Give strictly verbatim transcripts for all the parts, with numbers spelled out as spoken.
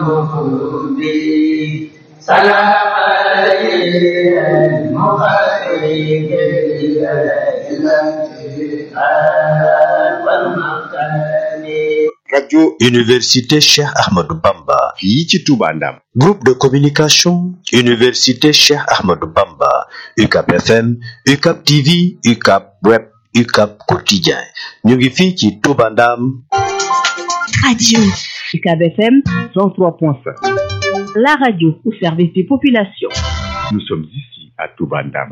الوجود سلام المخالف Radio Université Cheikh Ahmadou Bamba fii ci Touba Ndam. Groupe de communication Université Cheikh Ahmadou Bamba U C A B F M U C A B T V U C A B Web U C A B Quotidien ñu ngi fii ci Touba Ndam. Radio U C A B F M cent trois point cinq. La radio au service des populations. Nous sommes ici à Touba Ndam.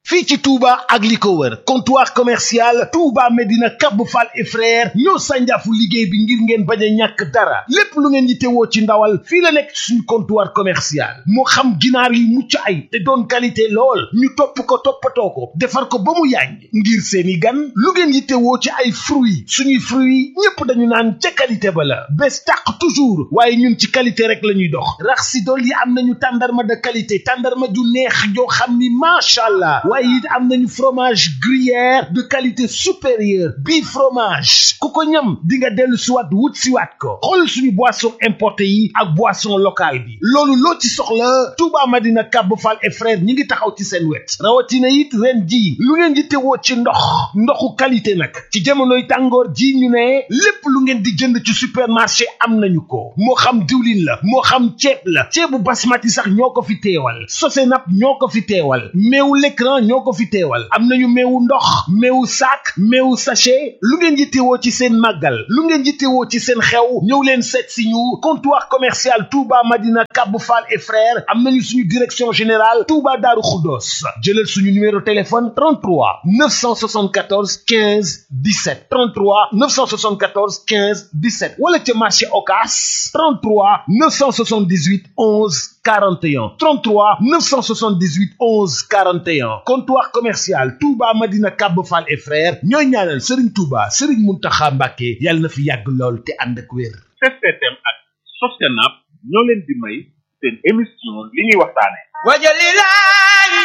fii ci Touba ak li ko wër comptoir commercial Touba Medina Kabou Fall et frère ñoo sànjaafu liggéey bi ngir ngeen bañ a ñàkk dara lépp lu ngeen yittewoo ci ndawal fii la nekk suñu comptoir commercial moo xam ginaar yu mucc ay te doon qualité lool ñu topp ko toppatoo ko defar ko ba mu yàññ ngir seeni gan lu ngeen yittewoo ci ay fruits suñuy fruits ñépp dañu naan ca qualité ba la bés tàq toujours waaye ñun ci qualité rek la ñuy dox rax si dool yi am nañu tàndarma de qualité tàndarma ju neex joo xam ni macha allah waaye it am nañu fromage gruyère de qualité supérieure bii fromage ku ko ñam di nga dellu siwaat wut siwaat ko xool suñu boisson importé yi ak boisson locale bi loolu loo ci soxla Touba Madina Kabou Fall et frère ñi ngi taxaw ci seen wet rawatina it ren ji lu ngeen di tewoo ci ndox ndoxu qualité nag ci jamonoy tàngoor ji ñu ne lépp lu ngeen di jënd ci supermarché am nañu ko moo xam diwlin la moo xam ceeb la ceebu basmati sax ñoo ko fi teewal Sosenap ñoo ko fi teewal meewu l'écran ñoo ko fi teewal am nañu meewu ndox meewu sac meewu sachet lu ngeen yittewoo ci seen màggal lu ngeen yittewoo ci seen xew ñëw leen seet si ñu comptoir commercial Touba Madina Kabou Fall et frères am nañu suñu direction générale Touba Darou Khoudoss jëlal suñu numéro téléphone trente-trois neuf cent soixante-quatorze quinze dix-sept trente-trois neuf cent soixante-quatorze quinze dix-sept wala ca marché Ocass trente-trois neuf cent soixante-dix-huit onze quarante et un trente-trois neuf cent soixante-dix-huit onze quarante et un comptoir commercial Touba Madina Kabou Fall et frères ñooy ñaanal Serigne Touba Serigne Mountakha Mbacké yàlla na fi yàgg lool te ànd ak wér. C C T M ak Sosenap ñoo leen di may seen émission li ñuy waxtaane wajalilahi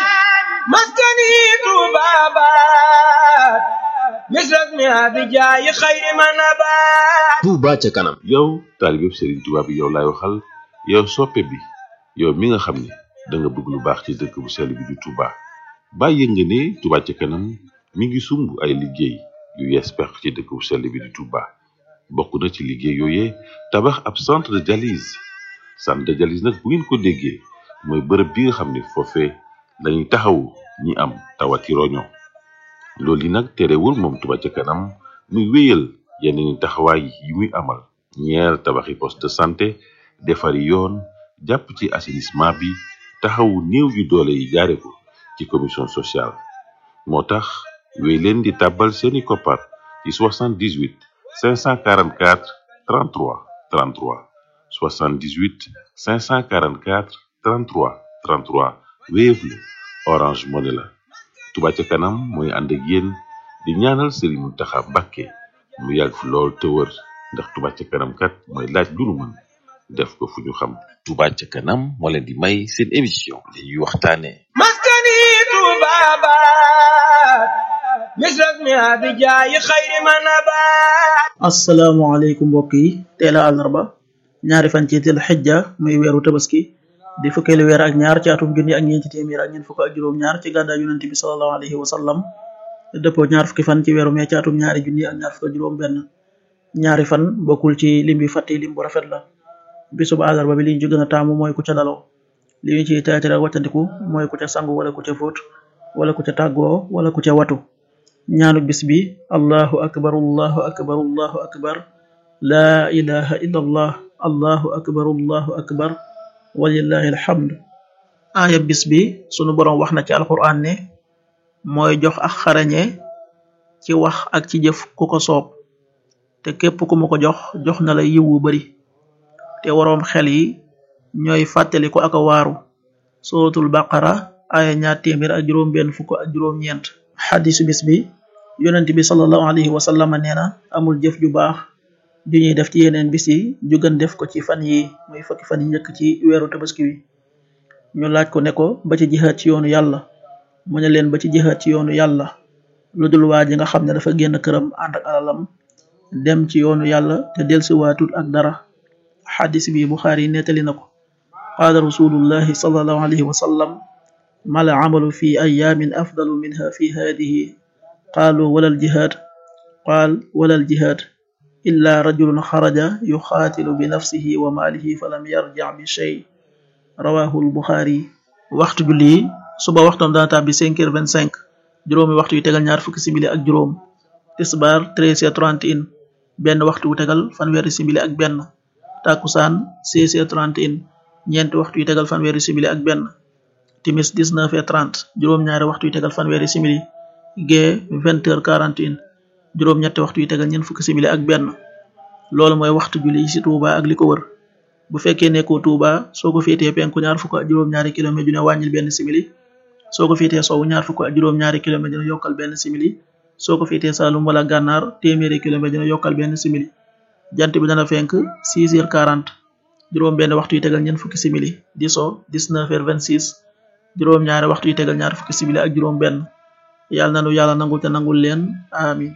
maskani tubabat misras mi abijaayi xayri manabat Touba ca kanam. yow taalibe Serigne Touba bi yow laay waxal yow soppe bi yow mi nga xam ne da nga bëgg lu baax ci dëkk bu sell bi di Touba bàyyi nga ne Touba ca kanam mi ngi sumb ay liggéey yu yees pex ci dëkk bu sell bi di Touba bokk na ci liggéey yooyee tabax ab centre de dialyse centre de dialyse nag bu ngeen ko déggee mooy bërëb bi nga xam ne foofee lañuy taxawu ñi am tawati roño loolu yi nag terewul moom Touba ca kanam muy wéyal yeneen taxawaay yi muy amal ñeer tabaxi poste de santé defari yoon jàpp ci assainissement bi taxawu néew yu doole yi jaare ko ci commission sociale moo tax wéy leen di tàbbal seeni koppar ci soixante-dix-huit cinq cent quarante-quatre trente-trois trente-trois soixante-dix-huit cinq cent quarante-quatre trente-trois trente-trois Wave la Orange Money la Touba ca kanam mooy ànd ak yéen di ñaanal Serigne Mountakha Mbacké mu yàgg fi lool te wër ndax Touba ca kanam kat mooy laaj lu nu mën def ko fu ñu xam. Touba ca kanam moo leen di may seen émission li ñuy waxtaane maskani tubabat misras mi abijaayi xayri manabat asalaamaaleykum mbokk yi teel a àllarba ñaari fan ci tel xijja muy weeru tabaski di fukkeelu weer ak ñaar ci atum junni ak ñeenti téeméer ak ñeent fukk ak juróom ñaar ci gàddaay yonent bi sallallahu alayhi wa sallam dëppoo ñaar fukki fan ci weeru mee ci atum ñaari junni ak ñaar fukk ak juróom benn ñaari fan bokkul ci lim bi fàtte lim bu rafet la bisub àllarba bi liñ ci gën a taamu mooy ku ca daloo li ñu ci teetare wàccandiku mooy ku ca sangu wala ku ca fóot wala ku ca tàggoo wala ku ca watu ñaanu bis bi allahu akbar allahu akbar allahu akbar laa ilaha illa allah allahu akbar allahu akbar walillahi alhamd aaya bis bi sunu boroom wax na ci alquran ne mooy jox ak xarañe ci wax ak ci jëf ku ko soob te képp ku mu ko jox jox na la yiw wu bari te waroom xel yi ñooy fàttali ko ak a waaru suratul baqara aaya ñaar téeméer ak juróom benn fukk ak juróom ñeent xadisu bis bi yonent bi sallallahu alayhi wa sallam nee na amul jëf ju baax ju ñuy def ci yeneen bis yi ju gën def ko ci fan yi muy fukki fan yi njëkk ci weeru tabaski wi ñu laaj ko ne ko ba ci jihaad ci yoonu yàlla mu ne leen ba ci jihaad ci yoonu yàlla lu dul waa ji nga xam ne dafa génn këram ànd ak alalam dem ci yoonu yàlla te delsiwaatut ak dara xadis bi Buxaari nettali na ko qaala rasulullahi sallallahu alayhi wa sallam mal amalu fi ayaamin afdalu minha fi haadihi qaalu walal jihaad qaal walal jihaad illa rajulun xaraja yuxaatilu bi nafsihi wa maalihi falam yarjic bi shay rawahu lbuxaari waxtu julli suba waxtoom dana tàbbi cinq heures vingt-cinq juróomi waxtu yu tegal ñaar fukki simili ak juróom tisbaar treize heures trente et un benn waxtu wu tegal fanweeri simili ak benn takusaan seize heures trente et un ñeenti waxtu yu tegal fanweeri simili ak benn timis dix-neuf heures trente juróom-ñaari waxtu yu tegal fanweeri simili gee vingt heures quarante et un juróom-ñetti waxtu yu tegal ñeent fukki simili ak benn loolu mooy waxtu julli ci Touba ak li ko wër bu fekkee nekkoo Touba soo ko féetee penku ñaar fukk ak juróom-ñaari kilomètre ju ne wàññil benn simili soo ko féetee sowu ñaar fukk ak juróom-ñaari kilomètre dina yokkal benn simili soo ko féetee Saalum wala Gànnaar téeméeri kilomètre dina yokkal benn simili jant bi dana fenk six heures quarante juróom benn waxtu yu tegal ñeent fukki simili di so dix-neuf heures vingt-six juróom ñaari waxtu yu tegal ñaar fukki simili ak juróom benn yàlla nanu yàlla nangul te nangul leen amin